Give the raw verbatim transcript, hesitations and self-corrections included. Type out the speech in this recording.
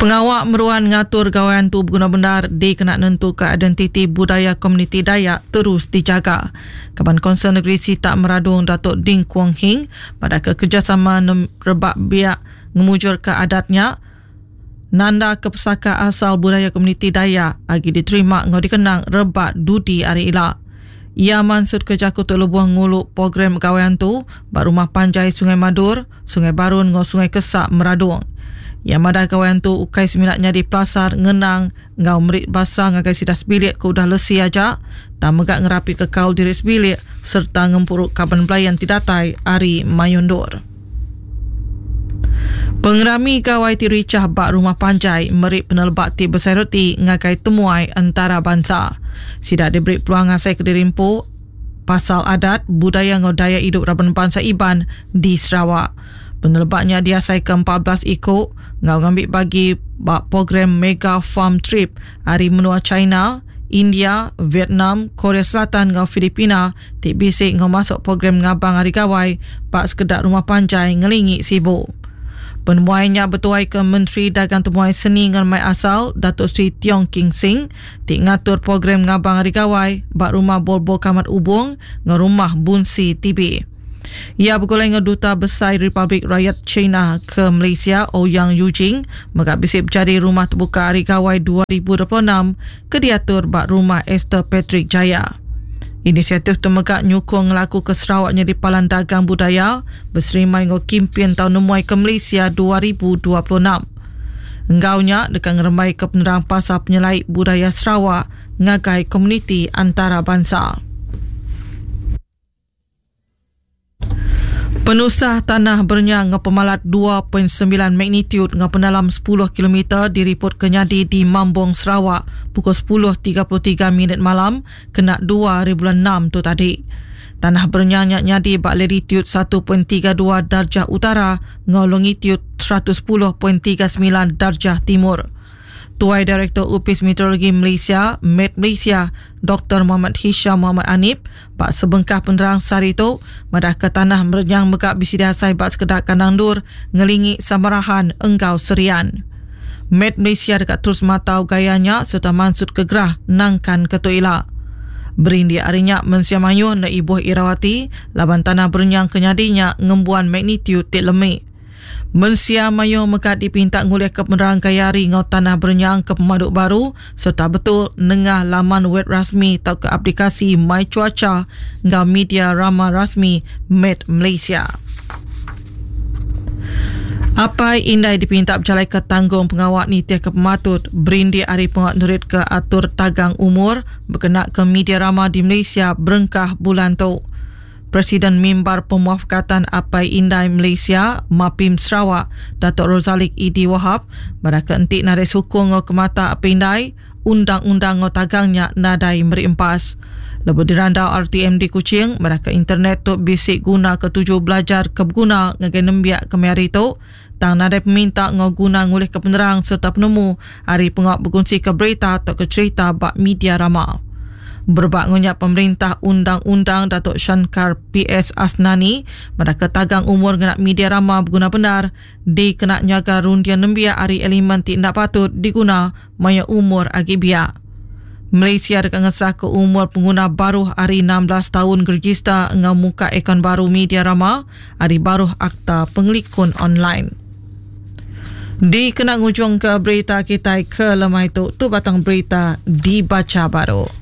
Pengawak meruan ngatur gawan tu berguna benar dikena nentu ke identiti budaya komuniti Dayak terus dijaga. Kaban Konsel Negeri Sitak Meradong Datuk Ding Kuong Hing pada kerjasama rebak biak ngemujur ke adatnya nanda ke pesaka asal budaya komuniti Dayak agi diterima ngau dikenang rebak dudi ari ila. Ia mansut ke jaku tu lebuh ngulu program gawan tu ba rumah panjai Sungai Madur, Sungai Barun ngau Sungai Kesak Meradong. Ia madah gawan tu ukai seminak nyadi pelasar ngenang ngau merit basa ngagai sida sebilik ke udah lesi aja, tak megak ngerapi ke kaul diri sebilik serta ngempuruk kaban belayan ti datai ari Mayundur. Pengerami gawai ti ricah bak rumah panjai merik penelebak ti besai reti ngagai temuai antara bangsa. Sida diberi peluang ngasai ke diri empu pasal adat budaya ngau daya hidup raban bangsa Iban di Sarawak. Penelebaknya diasai ke empat belas iko ngau ngambil bagi bak program Mega Farm Trip hari menua China, India, Vietnam, Korea Selatan ngau Filipina ti bisi ngau masuk program ngabang hari gawai bak sekedak rumah panjai ngelingi sibuk. Penemuainya bertuai ke Menteri Dagang Temuai Seni ngan Mai Asal Datuk Seri Tiong King Sing ti ngatur program ngabang hari gawai bak rumah Bolbo Kamat Ubung ngau rumah Bunsi T B. Ia bergulai dengan Duta Besar Republik Rakyat China ke Malaysia Ouyang Yujing mega bisi berjadi rumah terbuka Hari Gawai dua ribu dua puluh enam ke diatur bak rumah Esther Patrick Jaya. Inisiatif tu mega nyukung ngelaku ke Sarawak jadi palan dagang budaya berserimai ngau kimpin tahun nemuai ke Malaysia dua ribu dua puluh enam. Enggaunya dekat ngerembai ke penerang pasal penyelai budaya Sarawak ngagai komuniti antarabangsa. Penusah tanah bernyang ngau pemalat dua perpuluhan sembilan magnitude ngau penalam sepuluh kilometer diripot kenyadi di Mambong Sarawak pukul sepuluh tiga puluh tiga minit malam kena dua hari bulan enam tu tadi. Tanah bernyang nyak nyadi bak latitude satu perpuluhan tiga dua darjah utara ngau longitude seratus sepuluh perpuluhan tiga sembilan darjah timur. Tuai Direktur Upis Meteorologi Malaysia, Met Malaysia, Doktor Muhammad Hisham Muhammad Anip, bak sebengkah penerang sehari itu, madah ke tanah merenyang megak bisi dihasai bak sekedak kandang dur, ngelingi samarahan enggau serian. Met Malaysia dekat terus matau gayanya serta mansut ke gerah nangkan ketu ila. Berindik arinya mensia mayuh na ibuh Irawati, laban tanah berenyang kenyadinya ngembuan magnitude tik lemik. Mensia mayo mekat dipinta ngulih ke penerang kayari ngau tanah berenyang ke pemaduk baru serta betul nengah laman web rasmi atau ke aplikasi My Cuaca ngau media rama rasmi Met Malaysia. Apai indai dipinta berjalai ke tanggung pengawak nitiah ke pematut berindik hari pengawak nerit ke atur tagang umur berkenak ke media rama di Malaysia berengkah bulan tu. Presiden Mimbar Pemuafakatan Apai Indai Malaysia, Mapim Sarawak, Datuk Rozalik Idi Wahab, pada keentik nadai sukung ngau kemata Apai Indai, undang-undang ngau tagangnya nadai meri empas. Lebuh dirandau R T M di Kuching, pada ke internet tu bisik guna ketujuh belajar kebguna ngagai nembiak kemari tu, tang nadai peminta ngau guna ngulih ke penerang serta penemu hari pengawak berkongsi ke berita atau ke cerita bak media rama. Berbak ngunyak pemerintah undang-undang Datuk Shankar P S Asnani pada ketagang umur ngenak media rama berguna benar di kena nyaga rundian nembiak ari elemen ti ndak patut diguna maya umur agi biak. Malaysia dekat ngesah ke umur pengguna baruh ari enam belas tahun gergista ngau muka akaun baru media rama ari baruh akta pengelikun online. Di kena ngujung ke berita kita ke lemai tu, tu batang berita dibaca baru.